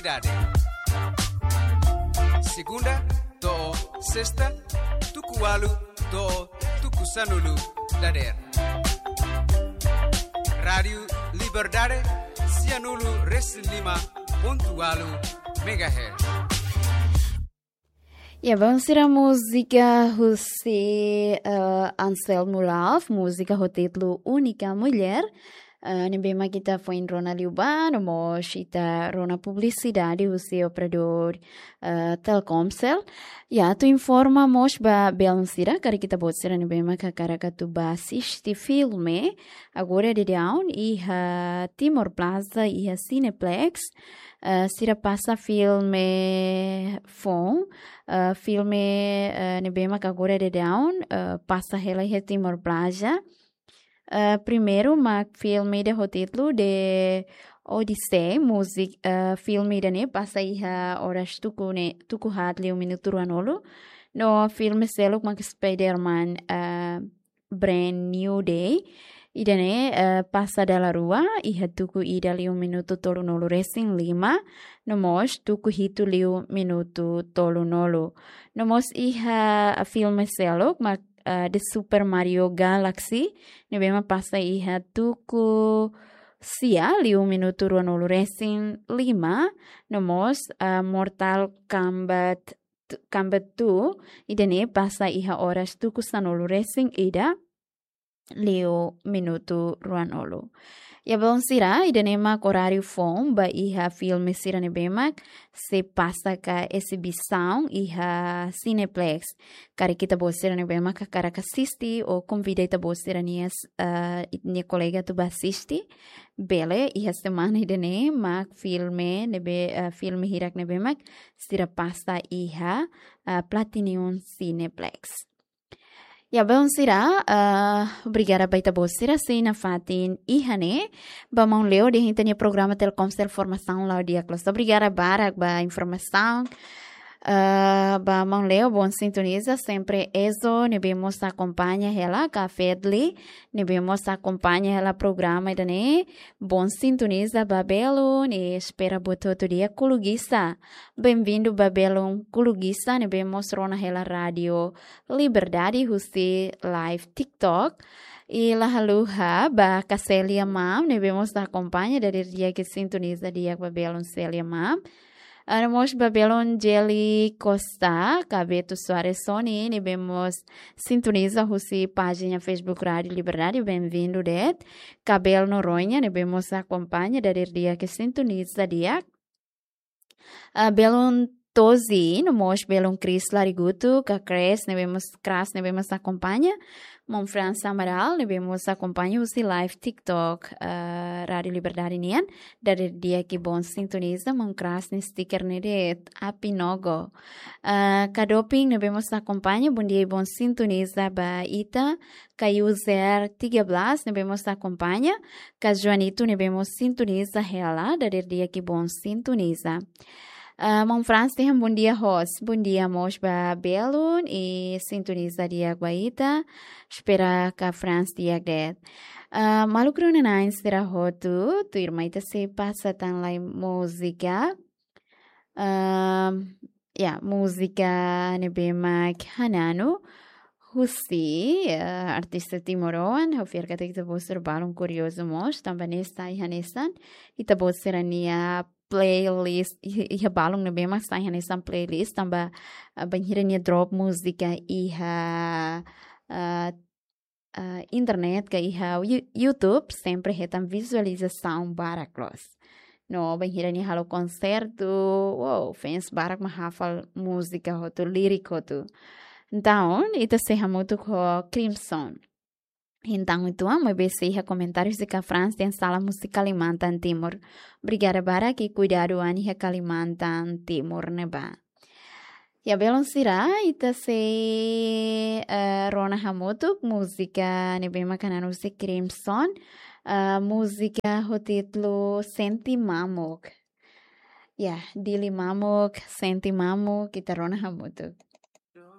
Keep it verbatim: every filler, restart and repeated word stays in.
Liberdade. Segunda to'o sesta, tuku ualu to'o tuku sanulu dadeer. Rádiu Liberdade, sianulu resin lima pontu ualu megahertz. Ya, bainhira múzika husi, eh, Anselmo Love, múzika ho títulu Única Mulher, eh, ne'ebé mak ita foin rona liubá, no mós ita rona publisidade husi operadór, eh, Telkomcel. Ya, atu informa mós ba belun sira, karik ita-boot sira ne'ebé mak hakarak atu bá asiste filme, agora daudaun iha Timor Plaza, iha Cineplex, eh, sira pasa filme foun, eh, filme, eh, ne'ebé mak agora daudaun, eh, pasa hela iha Timor Plaza. Eh, primeiru mak filme ida ho títulu The Odyssey, múzika, eh, filme ida-ne'e pasa iha oras tuku ne'e, tuku haat liu minutu ruanulu. No filme seluk mak Spider-Man, eh, Brand New Day. Ida-ne'e, eh, pasa dala rua, iha tuku ida liu minutu tolunulu resin lima, no mós tuku hitu liu minutu tolunulu. No mós iha filme seluk mak, eh, The Super Mario Galaxy, ne'ebé mak pasa iha tuku sia liu minutu ruanulu resin lima, no mós, eh, Mortal Kombat t-, Kombat two, ida-ne'e pasa iha oras tuku sanulu resin ida liu minutu ruanulu. Ya belun sira, ida-ne'e mak oráriu foun ba iha filme sira ne'ebé mak sei pasa ka exibisaun iha Cineplex. Karik ita-boot sira ne'ebé mak hakarak asiste, ou konvida ita-boot sira-nia, eh, ita-nia kolega atu bá asiste, bele, iha semana ida-ne'e mak filme ne'ebé, eh, filme hirak ne'ebé mak sira pasa iha, eh, Platinum Cineplex. Ya belun sira, eh, obrigada ba ita-boot sira sei nafatin iha ne'e. Ba maun Leo dehan ita-nia programa Telkomsel formasaun la'o di'ak loos. Obrigada barak ba informasaun. Eh, ba maun Leo, bom sintoniza, sempre Ezo ne'ebé mós akompaña hela, ka Fedli ne'ebé mós akompaña hela programa ida-ne'e. Bom sintoniza ba belun, i espera buat hotu di'ak. Kulugisá, bem-vindu ba belun Kulugisá ne'ebé mós rona hela Rádiu Liberdade husi live TikTok. I la haluha ba ka Célia Mam, ne'ebé mós akompaña, dadeer di'ak sintoniza di'ak ba belun Célia Mam. Ah, no mós ba belun Jelly Costa, ka Beto Soares Sony, ne'ebé mós sintoniza husi pájina Facebook Rádiu Liberdade, bem-vindu de'it. Ka Bel Noronha, ne'ebé mós akompaña, dadeer di'ak sintoniza di'ak. Ah, belun Tozi, no mós belun Chris Larigutu, ka Kres, ne'ebé mós, Kras, ne'ebé mós akompaña. Maun Franz Amaral, ne'ebé mós akompaña husi live TikTok, ah, Rádiu Liberdade nian. Dadeer di'ak i bom sintoniza, maun Kras nia sticker ne'e de'it, Apinogo. Ah, ka Doping, ne'ebé mós akompaña, bom dia i bom sintoniza ba ita. Ka User tiga belas, ne'ebé mós akompaña. Ka Joanito, ne'ebé mós sintoniza hela, dadeer di'ak i bom sintoniza. Ah, maun Franz dehan bom dia hosi. Bom dia mós ba belun i sintoniza di'ak ba ita. Espera ka Franz di'ak de'it. Ah, maluk rona-na'in sira hotu, tuirmai ita sei pasa tan lai múzika. Ah, ya, múzika ne'ebé mak Hananu husi, eh, artista timoroan, ha'u fiar katak ita-boot sira balun kuriozu mós, tanba ne'e sai hanesan ita-boot sira-nia playlist, i-, iha balun ne'ebé mak sai hanesan playlist, tanba, eh, bainhira nia drop múzika iha, eh, eh, internet ka iha You-, YouTube, sempre hetan vizualizasaun barak loos. No bainhira nia halo konsertu, wow, fans barak mak hafal múzika hotu, lirik hotu. Entaun, ita sei hamutuk ho Crimson. Entaun, uitoan, maibé sei iha komentáriu husi ka Franz dehan salam husi Kalimantan Timur. Obrigada barak i kuidadu an iha Kalimantan Timur ne'ebá. Ya, belun sira, ita sei, eh, rona hamutuk múzika ne'ebé mak Hananu husi Crimson, eh, múzika ho títulu Sente Mamuk. Ya, Dili Mamuk, Sente Mamuk, ita rona hamutuk.